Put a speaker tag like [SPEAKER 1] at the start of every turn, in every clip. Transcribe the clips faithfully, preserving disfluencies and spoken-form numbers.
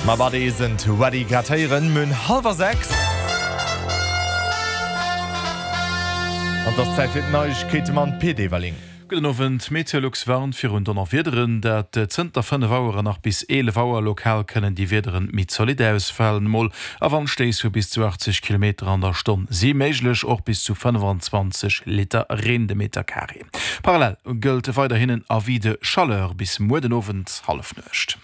[SPEAKER 1] My body isn't ready grad héieren, mir hunn hallwer sechs. An et ass Zäit fir d'Neiegkeete mam Pit Everling.
[SPEAKER 2] Gudden Owend, Meteolux warnt virun Donnerwiederen, dat zënter fënnef Auer an nach bis eelef Auer. Lokal kënnen déi Wiederen méi zolidd ausfalen, mol a Wandstéiss vu bis zu achtzeg Kilometer an der Stonn si méiglech, och bis zu fënnefanzwanzeg Liter Reen de Meter Carré. Parallel gëllt weiderhin en Avis de chaleur bis muer den Owend Hallefnuecht.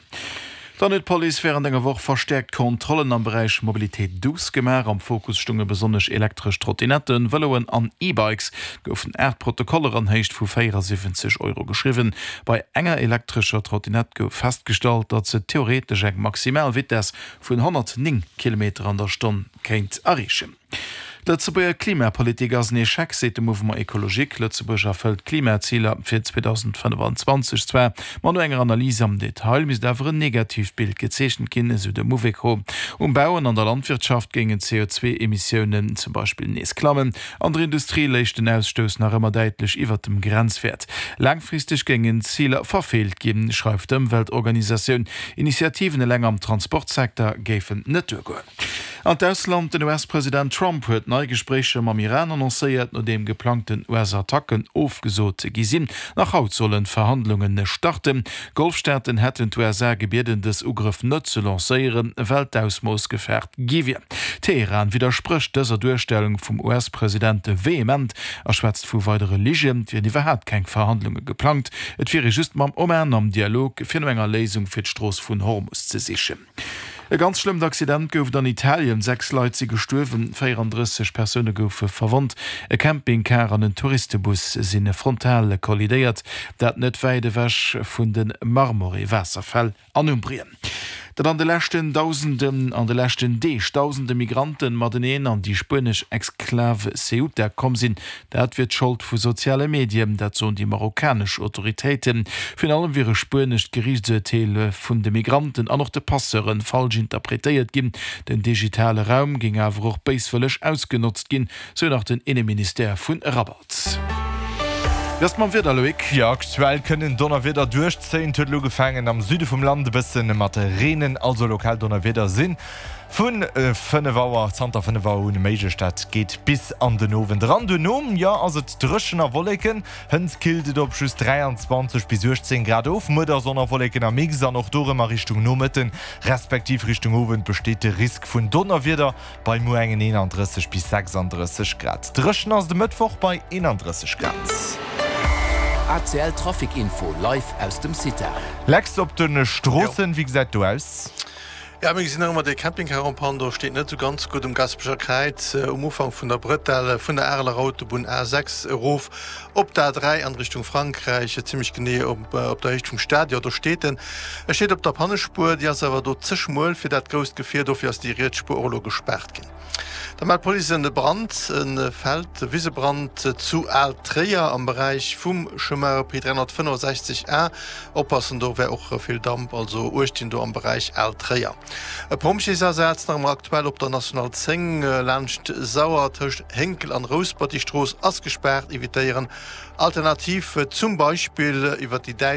[SPEAKER 2] Dann huet d'Police wärend enger Woch verstäerkt Kontrollen am Beräich Mobilité douce gemaach. Am Fokus stounge besonnesch elektresch Trottinetten, Vëloen an E-Bikes. Et goufen aacht Protokoller an Héicht vu véierasiwwenzeg Euro geschriwwen. Bei enger elektrescher Trottinett gouf festgestallt, datt se theoretesch eng maximal Vitess vun honnertnéng Kilometer an der Stonn kéint erreechen. D'Lëtzebuerger Klimapolitik ass en Echec, seet de Mouvement Ecologique. Lëtzebuerg erfëllt d'Klimaziler fir zweedausendfënnefanzwanzeg zwar, ma no enger Analys am Detail misst awer en negatiivt Bild gezeechent ginn, esou de Mouveco. Um Bau an an der Landwirtschaft géingen d'C O zwee Emissiounen zum Beispill nees klammen. An der Industrie léich den Ausstouss nach ëmmer däitlech iwwert dem Grenzwäert. Laangfristeg géingen d'Ziler verfeelt ginn, schreift d'Ëmweltorganisatioun. Initiativen eleng am Transportsecteur géifen net duergoen. An d'Ausland, Den U S-President Trump huet nei Gespréicher mam Iran annoncéiert, nodeem geplangten U S-Attacken ofgesot gi sinn. Nach haut sollen d'Verhandlunge starten. D'Golfstaaten hätten d'U S A gebieden, dës Ugrëff net ze lancéieren, well d'Ausmooss gefaart gi wier. Teheran widdersprécht dëser Duerstellung vum U S-President vehement a schwätzt vu weidere Ligen. Et wieren iwwerhaapt keng Verhandlunge geplangt, et wier ee just mam Oman am Dialog, fir no enger Léisung fir d'Strooss vun Hormus ze sichen. E ganz schlëmmt Accident gouf et an Italien, Sechs Leit si gestuerwen, véierandrësseg Persoune goufe verwonnt. E Campingcar an en Touristebus si frontal kollidéiert, dat net wäit ewech vun de Marmore-Waasserfäll an Umbrien. Datt an de leschten Dausenden, an de leschten Deeg Dausende Migranten mateneen an déi spuenesch Exklav Ceuta komm sinn, dat wier d'Schold vu soziale Medien, dat soen déi marokkanesch Autoritéiten. Virun allem wier e spuenescht Geriichtsurteel vun de Migranten an och de Passeure falsch interpretéiert ginn. Den digitale Raum géing awer och béiswëlleg ausgenotzt ginn, sou nach den Inneministère vu Rabat. Wéi ass et mam Wieder, Loïc?
[SPEAKER 1] Jo, aktuell kënnen Donnerwieder duerchzéien. Et huet elo ugefaangen am Süde vum Land e bësse mat reenen, also lokal Donnerwieder si vu fënnef Auer, zanter fënnef Auer un méiglech. Dat geet bis an den Owend eran. Duerno, jo, ass et dréchen a Wolleken. Hënt killt et op just dräianzwanzeg bis uechtzéng Grad of. Muer da Sonn a Wolleken am Mix an och do rëm a Richtung Nomëtten, respektiv Richtung Owend besteet de Risk vun Donnerwieder bei muer engen eenandrësseg bis sechsandrësseg Grad. Dréchen ass et e Mëttwoch bei eenandrësseg Grad.
[SPEAKER 3] A C L Trafic Info live aus dem Cita.
[SPEAKER 1] Lex, op de Stroossen, wéi gesäit do aus?
[SPEAKER 4] Ja, mir gesinn nach ëmmer dee Campingcar en panne, do steet net esou ganz gutt um Gaspecher Kräiz, um Ufank vun der Bretelle vun der Areler Autobunn A sechs erof op d'A dräi an Richtung Frankräich, zimmlech genee op der Héicht vum Stadion. Do steet en. E steet op der Pannespuer, déi ass awer do ze schmuel fir dat grousst Gefier, dofir ass déi riets Spuer och elo gespaart ginn. Da mellt d'Police en Brand, e Feld, Wisebrand zu Al-Tréier am Beräich vum Chemin E P dräihonnertfënnefosechzeg A. Oppassen, do wär och vill Damp, also Uecht ginn do am Beräich Al-Tréier. E Pompjeesasaz nach ëmmer aktuell op der National zéng laanscht Sauer tëscht Hénkel an Rouspert. Déi Strooss ass gespaart, evitéieren alternativ zum Beispill iwwer déi däitsch.